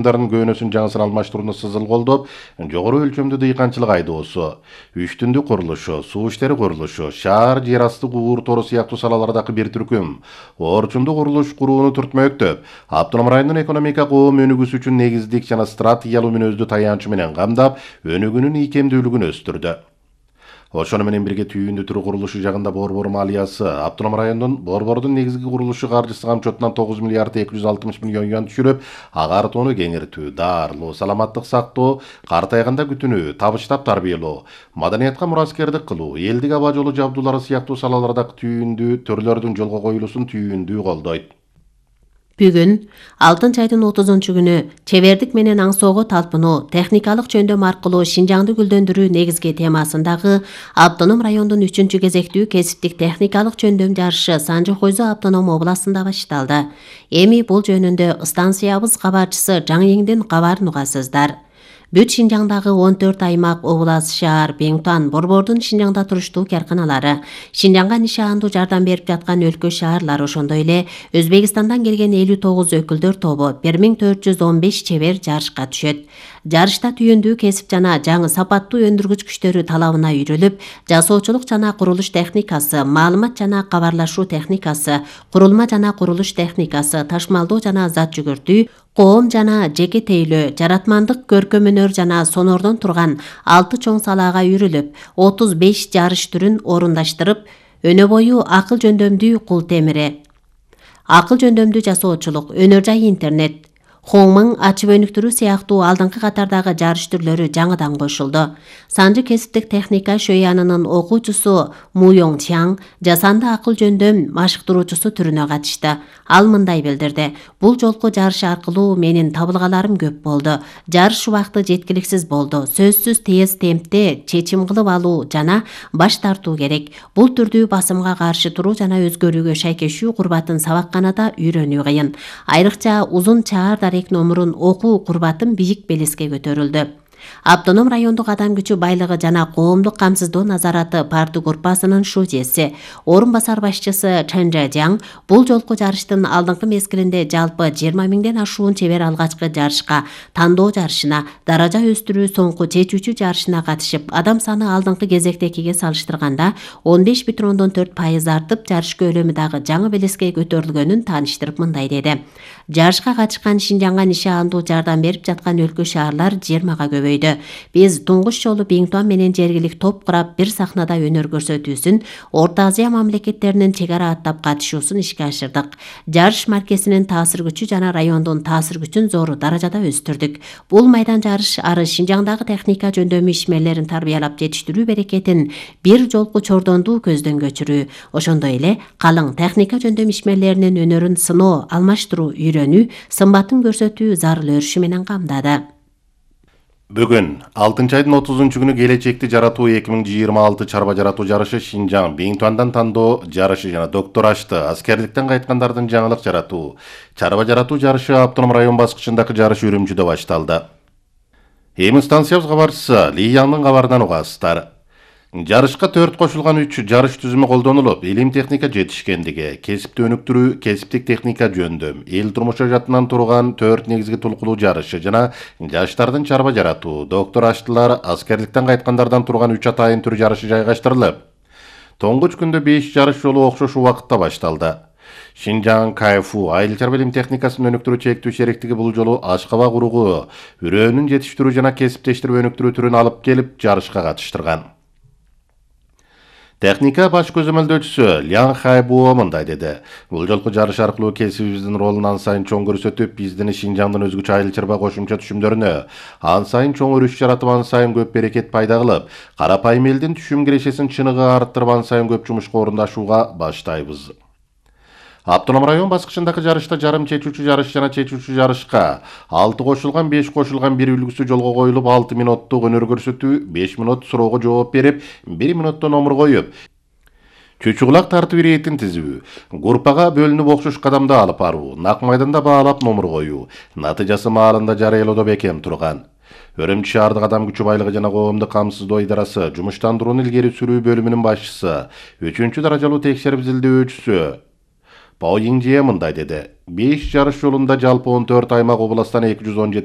Көөнөсүн жаңысын алмаштырууну сызыл колдоп, жогору өлчөмдүү дыйканчылык айдоосу, үчтүндүк курулушу, суу иштери курулушу, шаар жер асты куур тору сыяктуу салалардагы бир түркүм орчундуу курулуш курууну түртмөктөп, автоном райондун экономика коом өнүгүүсү үчүн негиздик жана стратегиялуу мүнөздүү таянчы менен камдап, өнүгүүнүн ийкемдүүлүгүн өстүрдү. Ошону менен бирге түйүндү түрү курулушу жагында Борбор малыясы автоном райондун Борбордун негизги курулушу каржысы камчотунан 9 миллиард 260 миллион юан түшүрүп, агартууну кеңиртүү, дарылоо, саламаттык сактоо, картайганда күтүнүү, табыштап тарбиялоо, маданиятка мураскердик кылуу, элдик аба жолу жабдуулары сыяктуу салалардагы түйүндүү төрлөрдүн жолго коюлуусун түйүндүү колдойт. Бүгүн Алтынчы айдын 30-күнү чебердик менен аңсоого талпынуу, техникалык жөндөм аркылуу Шинжаңды гүлдөндүрүү негизги темасындагы автоном райондун 3-кезектүү кесиптик техникалык жөндөм жарышы Санжы Хойзо автоном областында башталды. Эми бул жөнүндө станциябыз кабарчысы Жаң-Эңдин кабарын угасыздар. Бүт Шинжаңдагы 14 аймак, област, шаар, Беңтуан, Борбордун Шинжаңда туруштуу карканалары, Шинжаңга нишаандуу жардам берип жаткан өлкө шаарлар, ошондой эле Өзбекстандан келген 59 өкүлдөр тобу 1415 чебер жарышка түшөт. Жарышта түйүндүү кесип жана жаңы сапаттуу өндүргүч күчтөрү талабына үйрөлүп, жасоочулук жана курулуш техникасы, маалымат жана кабарлашуу техникасы, курулма жана курулуш техникасы, ташмалдоо жана зат жүгүртүү, коом жана жеке тейлөө, жаратмандык, көркөм өнөр жана сонордон турган 6 чоң салаага үйрүлүп, 35 жарыш түрүн орундаштырып, өнө бою акыл жөндөмдүү кул темири, акыл жөндөмдүү жасоочулук, өнөр жай интернет, Хоңмың ачып өнүктүрүү сыяктуу алдыңкы катардагы жарыш түрлөрү жаңыдан кошулду. Санжы кесиптик техника шөянынын окуучусу Муйоң Чаң жасанды акыл жөндөм машыктыруучусу түрүнө катышты. Ал мындай билдирди: бул жолку жарыш аркылуу менин табылгаларым көп болду. Жарыш убакты жеткиликсиз болду. Сөзсүз тез темпте чечим кылып алуу жана баш тартуу керек. Бул түрдүү басымга каршы туруу жана өзгөрүүгө шайкешүү курбатын сабакканада үйрөнүү кыйын. Айрыкча узун чаар номурун окуу курбатын бийик белеске көтөрүлдү. Автоном райондук адам күчү байлыгы жана коомдук камсыздоо назараты парты группасынын шужеси, орун басар башчысы Чен Жаң бул жолку жарыштын алдыңкы мезгилинде жалпы 20 миңден ашуун чебер алгачкы жарышка, тандоо жарышына, даража өстүрүү соңку чечүүчү жарышына катышып, адам саны алдыңкы кезектекиге салыштырганда 15,4% артып, жарыш көлөмү дагы жаңы белеске көтөрүлгөнүн тааныштырып мындай деди: жарышка катышкан Шинжаңга нишаандуу жардам берип жаткан өлкө шаарлар 20-га көбөйдү. Биз туңгуч жолу Беңтуан менен жергилик топ курап, бир сахнада өнөр көрсөтүүсүн, Орто Азия мамлекеттеринин чек ара аттап катышуусун ишке ашырдык. Жарыш маркесинин таасир күчү жана райондун таасир күчүн зор даражада өстүрдүк. Бул майдан жарыш ары Шинжаңдагы техника жөндөмү ишмерлерин тарбиялап жетиштирүү берекетин бир жолку чордондуу көздөн көчүрүү, ошондой эле калың техника жөндөм ишмерлеринин өнөрүн сыноо, алмаштыруу, үйрөнүү, сымбатын көрсөтүү зарыл өрүшү менен камдады. Бүгүн 6-айдын 30-күнү келечекти жаратуу 2026 чарба жаратуу жарышы Шинжаң Беңтуандан тандоо жарышы жана доктор ашты аскерликтен кайткандардын жаңылык жаратуу чарба жаратуу жарышы автоном район баскычындагы жарыш Үрүмчүдө башталды. Эми станциябыз кабарчысы Ли Яңдын кабарынан угасыздар. Жарышка 4 кошулган 3 жарыш түзүмү колдонулуп, илим техника жетишкендиги, кесипти өнүктүрүү, кесиптик техника жөндөм, эл турмушу жатынан турган 4 негизги толкулуу жарышы жана жаштардын чарба жаратуу, доктор аштылар, аскерликтен кайткандардан турган 3 атайын түр жарышы жайгаштырылып, тоңгуч күндө 5 жарыш жолу окшош убакытта башталды. Шинжаң КФУ айыл чарба илим техникасын өнүктүрүү чектүү шериктиги бул жолу ашкабак уругу, үрөөнүн жетиштирүү жана кесиптештирип өнүктүрүү түрүн алып келип жарышка катыштырган. Техника баш көзөмөлдөөчүсү Лян Хайбуо мындай деди: бул жолку жарыш аркылуу кесибибиздин ролун ан сайын чоң көрсөтүп, биздин Шинжаңдын өзгөчө айыл чарба кошумча түшүмдөрүнө ан сайын чоң өрүш жаратып, ан сайын көп берекет пайда кылып, карапайым элдин түшүм кирешесин чыныгы арттырып, ан сайын көп жумушка орундашууга баштайбыз. Автоном район баскычындагы жарышта жарым чечүүчү жарыш жана чечүүчү жарышка 6 кошулган 5 кошулган 1 үлгүсү жолго коюлуп, 6 минуттук өнөр көрсөтүү, 5 минут суроого жооп берип, 1 минутта номур коюп, чүчүгулак тартып иретин тизүү, группага бөлүнүп окшош кадамда алып баруу, нак майданда баалап номур коюу, натыйжасы маалында жарыялоодо бекем турган. Өрүмчү шаардык адам күчү байлыгы жана коомдук камсыздоо идарасы жумуштандырууну илгери сүрүү бөлүмүнүн башчысы, 3-даражалуу текшерип изилдөөчүсү Пао Йинжие мындай деди. 5 жарыш жолунда жалпы 14 аймак областан 217